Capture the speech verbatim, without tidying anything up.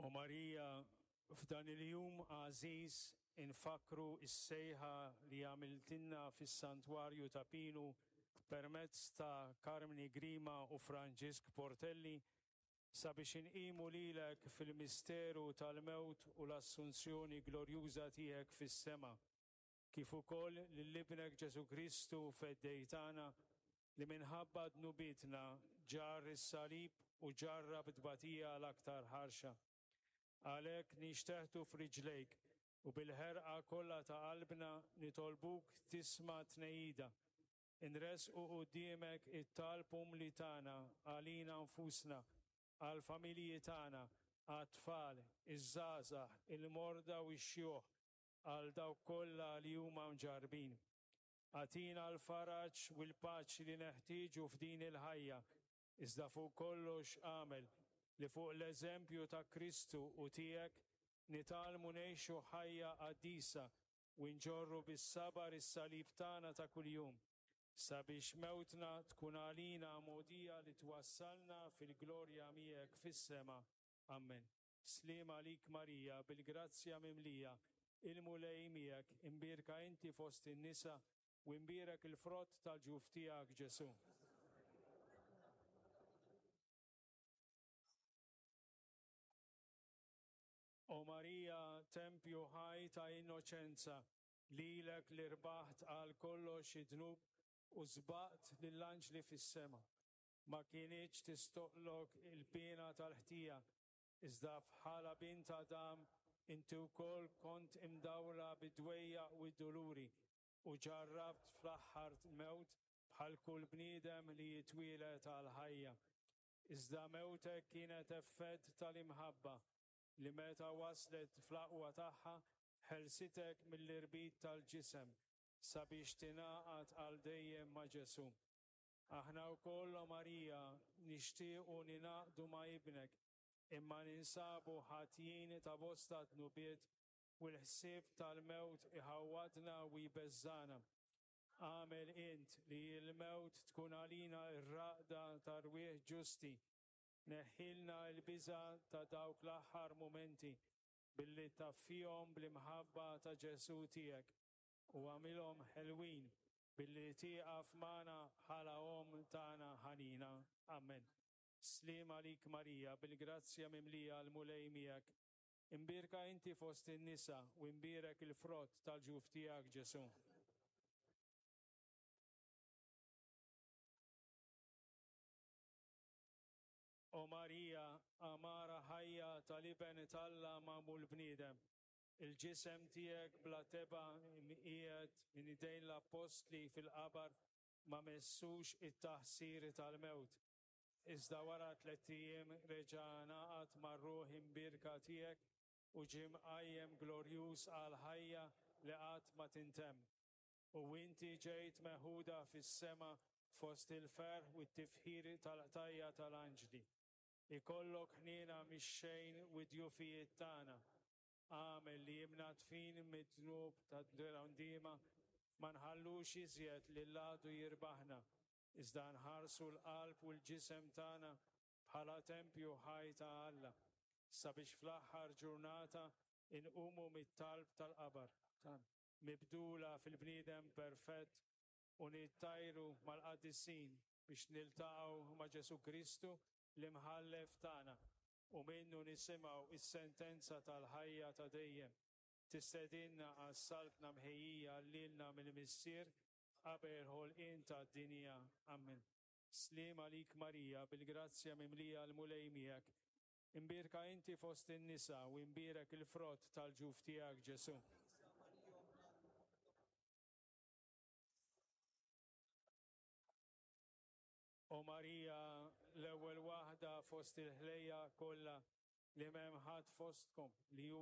O Marija, f'dan il-jum għażiż infakkru is-sejħa li għamiltilna fis-Santwarju Ta' Pinu permezz ta' Karmni Grima u Franġisk Portelli sabiex inqimu lilek fil-misteru tal-mewt u l-assunzjoni glorjuża tiegħek fis-sema, kif ukoll lil Ibnek Ġesù Kristu Feddej tagħna li minħabba dnubietna ġarr is-salib u ġarrab tbatija l-aktar ħarxa. Għalhekk nixteħtu f'riġlejk u bil-ħerqa kollha ta' qalbna nitolbuk tisma' tnehida. Inressqu quddiemek it-talb umli tagħna għalina nfusna, għall-familji tagħna, għat-tfal, iż-żgħażagħ, il-morda u x-xjuħ, għal dawk kollha li huma mġarrbin. Agħtina l-faraġ u l-paċi li neħtieġu f'din il-ħajja, iżda fuq kollox agħmel li fuq l-eżempju ta' Kristu u tiegħek nitgħallmu ngħixu ħajja qaddisa u nġorru bis-sabar is-salib tagħna ta' kuljum, sabiex mewtna tkun għalina mogħdija li twassalna fil-glorja miegħek fis-sema. Amen. Sliem għalik Marija, bil-grazzja mimlija, il-Mulej miegħek, imbierka inti fost in-nisa u imbierek il-frott tal-ġuf tiegħek Ġesù. O Marija, tempju ħaj ta' innoċenza, lilek li rbaħt għal kollox id-dnub u sbaqt lill-anġli fis-sema. Ma kinitx tistoqlok il-piena tal-ħtija, iżda bħala bint Adam inti wkoll kont imdawra bid-dwejjaq u d-duluri u ġarrabt fl-aħħar mewt bħal kull bniedem li jitwieled għall-ħajja. Iżda mewtek kienet effett tal-imħabba li meta waslet fl-aqwa tagħha ħelsitek mill-irbit tal-ġisem sabiex tingħaqad għal dejjem ma' Ġesù. Aħna wkoll, o Marija, nixtiequ ningħaqdu ma' ibnek, imma ninsabu ħatjin ta' bosta dnubiet u l-ħsieb tal-mewt iħawwadna u jbeżżana. Agħmel int li l-mewt tkun għalina r-raqda ta' rwieħ ġusti. Neħħilna l-biża' ta' dawk l-aħħar mumenti billi taffihom bl-imħabba ta' Ġesù tiegħek u agħmilhom ħelwin billi tieqaf magħna bħala Omm tagħna ħanina. Amen. Sliem għalik Marija, bil-grazzja mimlija l-Mulej miegħek. Imbierka inti fost in-nisa u imbierek il-frott tal-ġuf tiegħek Ġesù. O Marija, għamara ħajja tal-Iben t'Alla magħmul bniedem, il-ġisem tiegħek bla tebgħa imqiegħed minn idejn l-appostli fil-qabar ma messux it-taħsir tal-mewt. Iżda wara tlett ijiem reġa' ngħaqad mar-ruħ imbierka tiegħek u ġie mqajjem glorjuż għal ħajja li qatt ma tintemm. U inti ġejt meħuda fis-sema fost il-ferħ u t-tifħir tal-qtajja tal-anġli. Ikollok ħniena mix-xejn u d-djufijiet tagħna. Agħmel li imnadfin mid-dnub tad-ndiema ma nħallux iżjed lil għadu jirbaħna, iżda nħarsu l-qalb u l-ġisem tagħna bħala tempju ħaj ta' Alla, sabiex fl-aħħar ġurnata inqumu mit-talb tal-qabar, mibdula fil-bniedem perfett u nittajru mal-qaddisin biex niltaqgħu ma' Ġesù Kristu l-imħallef tagħna u minnu nisimgħu is-sentenza tal-ħajja ta' dejjem. Tistedinna għas-saltna mħejjija lilna mill-Missier qabel ħolqien tad-dinja. Amen. Sliem għalik Marija, bil-grazzja mimlija l-Mulej miegħek. Imbierka inti fost in-nisa u imbierek il-frott tal-ġuf tiegħek Ġesù. O Marija, l-ewwel waħda fost il-ħlejja kollha li m'hemm ħadd fostkom li hu